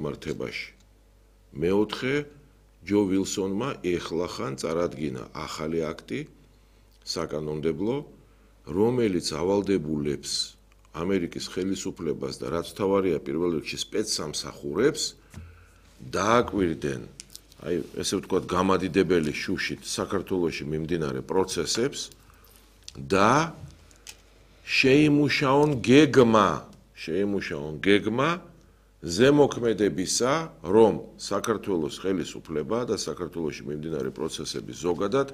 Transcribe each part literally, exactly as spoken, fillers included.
მართებაში. მეოთხე, ჯო ვილსონმა ეხლახან წარადგინა ახალი აქტი საკანონმდებლო, რომელიც ავალდებულებს ამერიკის ხელისუფლებას და რაც თავარია პირველ რიგში სპეცსამსახურებს დააკვირდნენ აი ესე ვთქვათ გამადიდებელი შუშით საქართველოში მიმდინარე პროცესებს და შეიმუშაონ გეგმა, შეიმუშაონ გეგმა ზემოქმედებისა, რომ საქართველოს ხელისუფლება და საქართველოში მიმდინარე პროცესები ზოგადად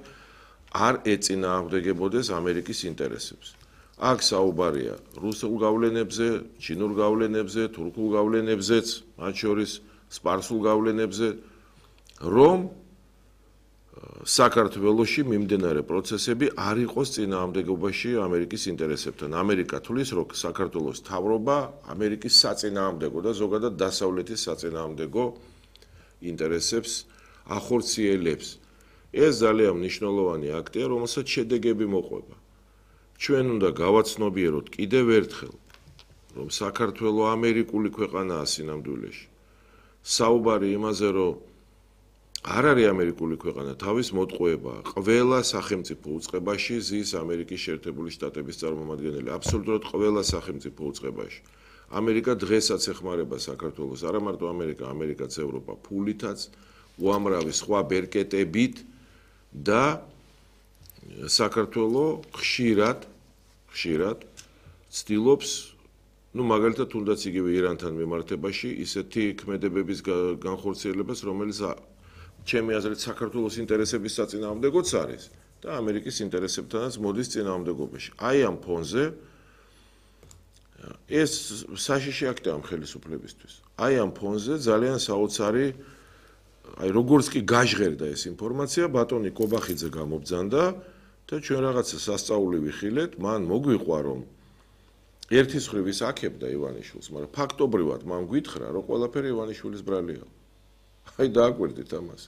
არ ეწინააღმდეგებოდეს ამერიკის ინტერესებს. აქ საუბარია რუსულ გავლენებზე, ჩინურ გავლენებზე, თურქულ გავლენებზეც, მათ შორის სპარსულ გავლენებზე, რომ საქართველოში მიმდინარე პროცესები არ იყოს წინააღმდეგობაში ამერიკის ინტერესებთან. ამერიკა თulis, რომ საქართველოს მთავრობა ამერიკის საწინააღმდეგო და ზოგადად დასავლეთის საწინააღმდეგო ინტერესებს ახორციელებს. ეს ძალიან მნიშვნელოვანი აქტია, რომელსაც შედეგები მოყვება. ჩვენ უნდა გავაცნობიეროთ კიდევ ერთხელ, რომ საქართველო ამერიკული ქვეყანაა სინამდვილეში. საუბარი იმაზე, რომ არ არის ამერიკული ქვეყანა, თავის მოტყუებაა. ყველა სახელმწიფო უწყებაში ზის ამერიკის შეერთებული შტატების წარმომადგენელი, აბსოლუტურად ყველა სახელმწიფო უწყებაში. ამერიკა დღესაც ეხმარება საქართველოს, არა მარტო ამერიკა, ამერიკაც ევროპა ფულითაც, უამრავი სხვა ბერკეტებით და საქართველო ხშირად, ხშირად ცდილობს, ну, მაგალითად, თუნდაც იგივე ირანთან მიმართებაში ისეთი ქმედებების განხორციელებას, რომელიც ჩემი აზრით საქართველოს ინტერესების საწინააღმდეგოც არის და ამერიკის ინტერესებთანაც მოდის წინააღმდეგობაში. აი ამ ფონზე ეს საშიში აქტია ამ ხელისუფლებისთვის. აი ამ ფონზე ძალიან საოცარი, აი როგორც კი გაჟღერდა ეს ინფორმაცია, ბატონი კობახიძე გამობძანდა და ჩვენ რაღაცა სასწაული ვიხილეთ, მან მოგვიყვა რომ ერთის მხრივ ის აქებდა ივანიშვილს, მაგრამ ფაქტობრივად მან გვითხრა, რომ ყველაფერი ივანიშვილის ბრალია. აი დააკვირდით ამას.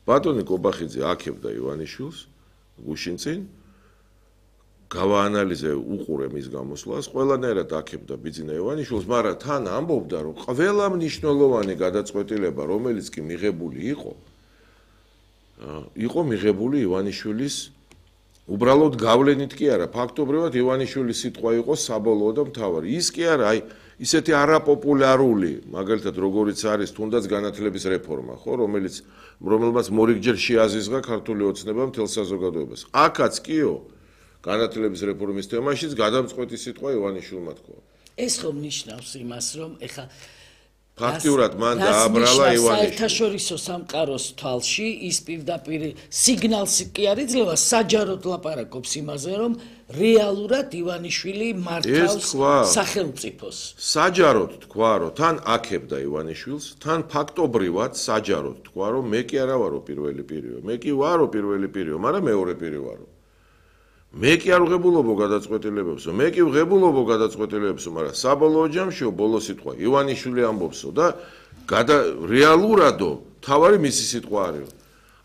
ბატონი კობახიძე აქებდა ივანიშვილს გუშინ წინ, გავაანალიზე უყურე მის გამოსვლას, ყველანაირად აქებდა ბიძინა ივანიშვილს, მაგრამ თან ამბობდა, რომ ყველა მნიშვნელოვანი გადაწყვეტილება, რომელიც კი მიღებული იყო, იყო მიღებული ივანიშვილის უბრალოდ გავლენით კი არა, ფაქტობრივად ივანიშვილის სიტყვა იყო საბოლოო და მთავარი. ის კი არა, აი ისეთი არაპოპულარული, მაგალითად როგორიც არის თუნდაც განათლების რეფორმა, ხო, რომელიც რომელმაც მორიგჯერ შეაზიზღა ქართული ოცნება მთელ საზოგადოებას. აქაც კიო, განათლების რეფორმის თემაშიც გადამწყვეტი სიტყვა ივანიშვილმა თქვა. ეს ხომ ნიშნავს იმას, რომ ეხა ფაქტიურად მან დააბრალა ივანიშვილი. საერთაშორისო სამყაროს თვალში ის პირდაპირ სიგნალს კი არ იძლევა, საჯაროდ ლაპარაკობს იმაზე, რომ რეალურად ივანიშვილი მართავს სახელმწიფოს. საჯაროდ თქვა, რომ თან აქებდა ივანიშვილს, თან ფაქტობრივად საჯაროდ თქვა, რომ მე კი არა ვარო პირველი პირიო, მე კი ვარო პირველი პირიო, მაგრამ მეორე პირი ვარო. მე კი არ ვღებულობო გადაწყვეტილებებსო, მე კი ვღებულობო გადაწყვეტილებებსო, მაგრამ საბოლოო ჯამშიო ბოლო სიტყვა ივანიშვილი ამბობსო და რეალურადო თავარი მისი სიტყვა არის.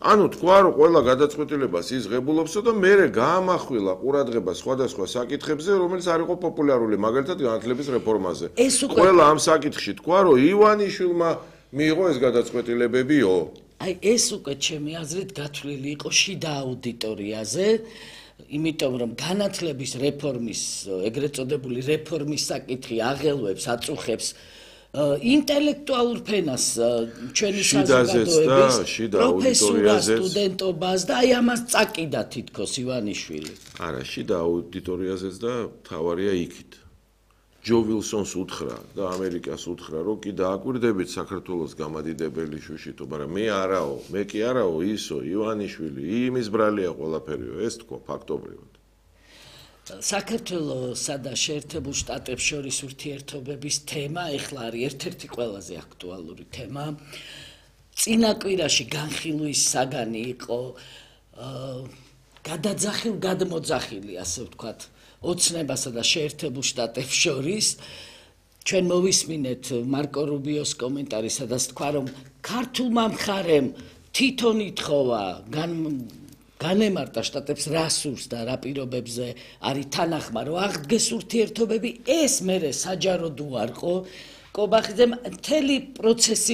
ანუ თქვა, რომ ყველა გადაწყვეტილებას ის ღებულობსო და მერე გაამახვილა ყურადღება სხვადასხვა საკითხებზე, რომელიც არ იყო პოპულარული, მაგალითად განათლების რეფორმაზე. ყველა ამ საკითხში თქვა, რომ ივანიშვილმა მიიღო ეს გადაწყვეტილებებიო. აი ეს უკვე ჩემი აზრით გათვლილი იყო შიდა აუდიტორიაზე. იმიტომ რომ განათლების რეფორმის, ეგრეთ წოდებული რეფორმის საკითხი აღელვებს, აწუხებს ინტელექტუალურ ფენას ჩვენი საზოგადოების პროფესორას, სტუდენტობას და აი ამას წაკიდა თითქოს ივანიშვილი. არა, შიდა აუდიტორიაზეც და თავარია იქით. ჯო ვილსონს უთხრა და ამერიკას უთხრა, რომ კი დააკვირდებით საქართველოს გამადიდებელი შუშითო, მაგრამ მე არაო, მე კი არაო ისო, ივანიშვილი, იმის ბრალია ყველაფერიო, ეს თქვა ფაქტობრივად. საქართველოსა და შეერთებულ შტატებს შორის ურთიერთობების თემა ეხლა არის ერთ-ერთი ყველაზე აქტუალური თემა. წინა კვირაში განხილვის საგანი იყო გადაძახილ გადმოძახილი, ასე ვთქვათ, ოცნებასა და შეერთებულ შტატებს შორის. ჩვენ მოვისმინეთ მარკო რუბიოს კომენტარი, სადაც თქვა, რომ ქართულმა მხარემ თვითონ ითხოვა განემარტა შტატებს რა სურს და რა პირობებზე არის თანახმა, რომ აღდგეს ურთიერთობები, ეს მერე საჯაროდ უარყო კობახიძემ მთელი პროცესი